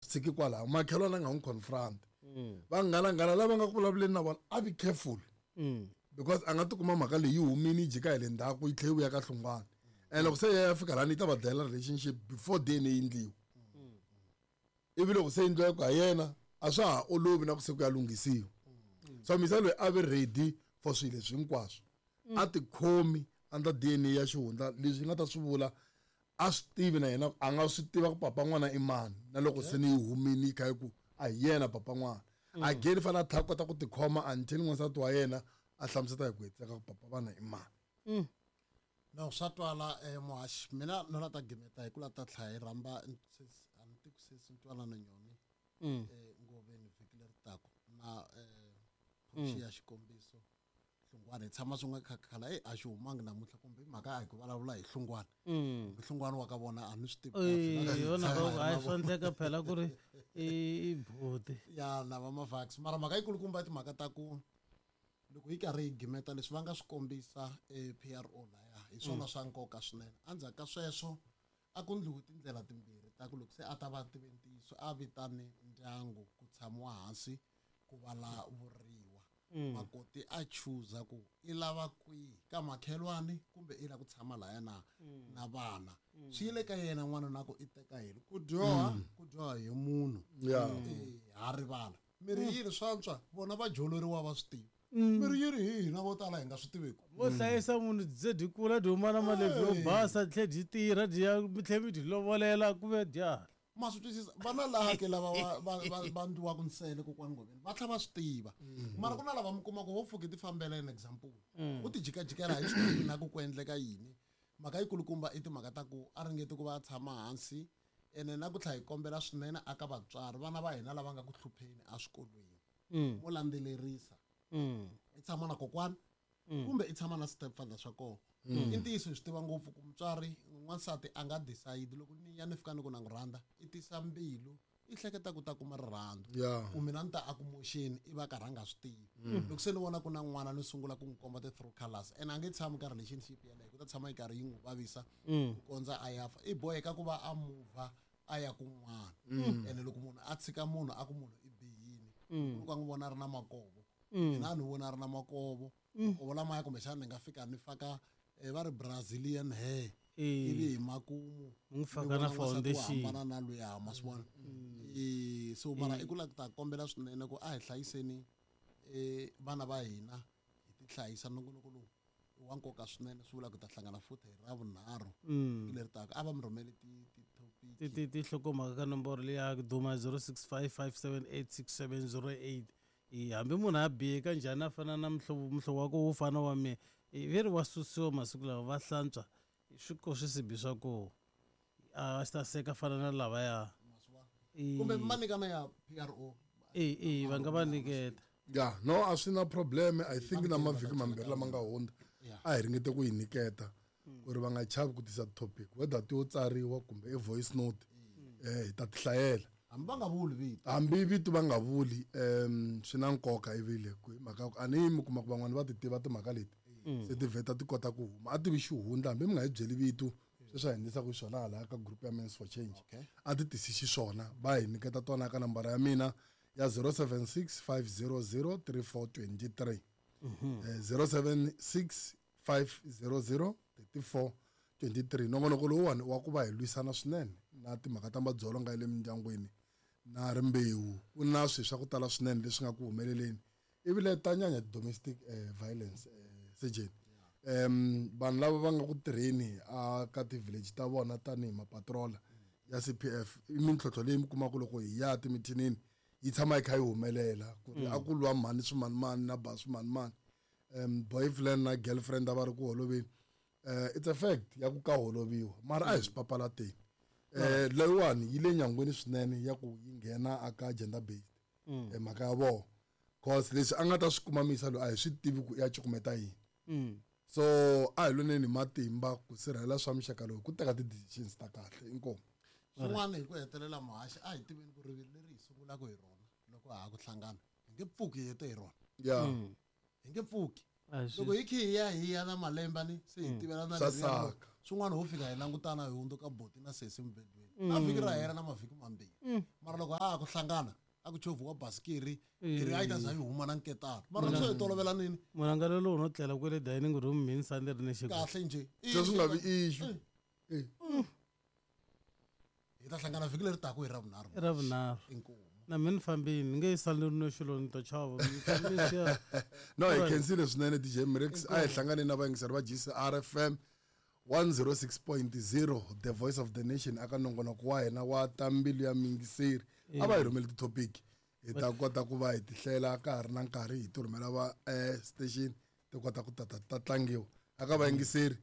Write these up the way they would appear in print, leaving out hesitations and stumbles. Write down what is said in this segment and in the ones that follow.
Tshiki kwalaho makhelwani a nga n'wi confront. Vanghana-nghana lava nga ku vulavuleni na vona a be careful. Because a nga tikuma mhaka leyi yi humini yi jika hi le ndzhaku yi tlhela yi vuya ka hlungwana. And loko se ya fika lani yi ta va dlayela relationship before DNA yi endliwa. Ivi loko se yi endliwa ku ha yena a swa ha olovi na ku se ku ya lunghisiwa. So misa loyi a ve ready for swilo leswi hinkwaswo. A tikhomi under DNA ya xihundla leswi nga ta swi vula a swi tivi na yena a nga swi tiva ku papa n'wana i mani na loko se ni yi humini yi kha yi ku a hi yena papa n'wana. Again i fanele a tlhela a kota ku tikhoma until n'wansati wa yena a hlamuseta hi ku hetiseka ku papa vana i mani. No swa twala muhaxi mina no la ta gimeta hi ku la ta tlhela hi rhamba sesi a ni tiku sesi Ntwanano Nyoni Ngoveni vhiki leri taka na Portia xikombiso Hlungwani hi tshama swin'we khakhala e a xi humangi namuntlha kumbe mhaka a hi ku vulavula hi Hlungwani. Kumbe Hlungwani wa ka vona a ni swi tivi kahle. Yona a hi swa endleka phela ku ri i buti. Ya na va Mavax mara mhaka yikulukumba i timhaka ta ku loko yi karhi yi gimeta leswi va nga swi kombisa PRO laya hi swona swa nkoka swinene. Endzhaku ka sweswo a ku ndliwi tindlela timbirhi ta ku loko se a ta va tive ntiyiso a vitane ndyangu ku tshamiwa hansi ku vulavuriwa. Makoti a chuza ku i lava kwihi ka makhelwani kumbe i lava ku tshama laya na na vana. Swi yile ka yena n'wana na ku i teka yini ku dyoha ku dyoha hi munhu. Ha rivala miri yini swantswa vona va joloriwa va swi tiva. Miri yini hi hina vo tala hi nga swi tiveki. Vo hlayisa munhu byi dyi kula dyi huma na malebvu yo basa tlhe dyi tirha dyi ya mi tlhe mi dyi lovolela ku ve dya. Ma swi twisisa vana laha ke lava va ndliwaka nsele kokwani Ngoveni va tlhela va swi tiva. Mara ku na lava mi kuma ku ho pfuki ti fambela an example. U ti jikajikela hi swi tivi na ku ku endleka yini. Mhaka yikulukumba i timhaka ta ku a ringeti ku va a tshama hansi ene na ku tlhela hi kombela swinene aka vatswari vana va hina lava nga ku hlupheni eswikolweni. Mo landzelerisa. I tshama na kokwani kumbe i tshama na stepfather swa kona. I ntiyiso hi swi tiva ngopfu ku mutswari n'wansati a nga decide loko ni ya ni fika ni ku na n'wi rhandza i tisa mbilu i hleketa ku ta kuma rirhandzu. Ku mina ni ta a ku moxeni i va karhi a nga swi tivi. Loko se ni vona ku na n'wana ni sungula ku n'wi komba ti-true colors and a nge tshami ka relationship yeleyo ku ta tshama yi karhi yi n'wi vavisa ku kondza a ya fa. I boheka ku va a move a ya kun'wana. Ene loko munhu a tshika munhu a ku munhu i bihini loko a n'wi vona a ri na makovo. Mina a ni vona a ri na makovo. Makovo lamaya kumbexana ni nga fika ni faka va ri Brazilian hair. Ivi hi makumu N'wi faka na foundation. Hambana na luya ma swi vona. So mara i ku la ku ta kombela swinene ku a hi hlayiseni vana va hina hi ti hlayisa nongonoko lowu i wa nkoka swinene swi vula ku ta hlangana futhi hi Ravunharhu leri taka a va mi rhumeli ti topic ti hlokomhaka ka nomboro leyi ya duma 0655786708. Hambi munhu a bihe ka njhani a fana na muhlovo wa ku wu fana wa mina ve ri wa susiwa masiku lawa va hlantswa swi ko swisibi swa koho a swi ta seka fana na lavaya kumbe ma nyikana ya PRO va nga va nyiketa. Ya no a swi na problem. I think na mavhiki mambirhi lama nga hundza a hi ringete ku yi nyiketa ku ri va nga chavi ku tisa topic whether ti yo tsariwa kumbe i voice note hi ta ti hlayela. Hambi va nga vuli vito. Hambi vito va nga vuli swi na nkoka ivile ku hi mhaka ku a ni mi kuma ku van'wani va ti tiva timhaka leti se ti vheta ti kota ku huma a tivi xihundla hambi mi nga hi byeli vito sweswi a hi endlisaka xiswona hala ka group ya Men's for Change. A ti tisi xiswona va hi nyiketa tona ka nambara ya mina ya 076 500 3423. 076 500 3423. Nongonoko lowuwani wa ku va hi lwisana swinene na timhaka ta madzolonga ya le mindyangwini na rimbewu. Ku na swilo swa ku tala swinene leswi nga ku humeleleni ivi le ta nyanya domestic violence sejeni. Vanhu lava va nga ku tirheni a ka ti-village ta vona tanihi mapatrola ya CPF i mintlhontlho leyi mi kumaka loko hi ya timithinini yi tshama yi kha yi humelela ku ri a ku lwa mhani swimanimani na ba swimanimani. Boyfriend na girlfriend a va ri ku holoveni. It's a fact ya ku ka holoviwa mara a hi swi papalateni. Leyiwani yi le nyangweni swinene ya ku yi nghena aka gender based mhaka ya vona cause leswi a nga ta swi kuma misa loyi a hi swi tivi ku ya cukumeta yini. So a hi lweneni hi matimba ku sirhelela swa muxaka lowu ku teka ti-decisions ta kahle inkomu. Swin'wana hi ku hetelela muhaxi a hi tiveni ku rivilo leri hi sungulaka hi rona loko ha ha ku hlangana hi nge pfuki hi hete hi rona. Hi nge pfuki. A hi Loko hi khe hi ya hi ya na malembe ni se hi tivelana Swa leriya ro- saka. swin'wana ho fika hi langutana hi hundzuka boti na sesi mubedweni na vhiki ra hela na mavhiki mambirhi. Mara loko a ha ku hlangana a ku chovhiwa basikiri leri a yi ta za yi huma na nketana, mara loko se hi tolovelanini Munhu a nga lolohi no tlela kwele dining room mini sani ri ni xiko. Kahle njhe. Se swi nga vi issue. Hi ta hlangana vhiki leri taku hi Ravunharhu. I Ravunharhu. Inkomu. Na mina ni fambini ni nge sali ni ri no xilo ni ta chava. Ni ta mi siya. No, hi khensile swinene DJ Mrix. A hi hlangane na vayingiseri va GCR FM 106.0, the voice of the nation, aka nongonoko wa hina wa ta mbilu ya miyingiseri. A va hi rhumeli ti-topic, hi ta kota ku va hi ti hlela ka ha ri na nkarhi, hi ti rhumela va station ti kota ku tata ta tlangiwa aka vayingiseri.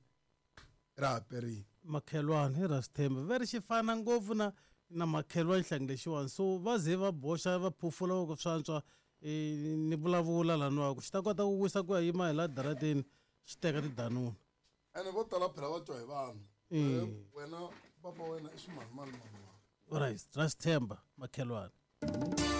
Ra ha perile. Makhelwani hi ra swithemba ve ri xi fana ngopfu na makhelwani xihlangi lexiwani, so va ze va boxa va phofula va ku swantswa ni vulavula laniwa ku xi ta kota ku wisa ku ya yima hi la darateni xi teka tidanuna. Ene vo tala phela va twa hi vanhu. Wena papa wena i swimanimani mani. Right, ra swithemba makhelwani.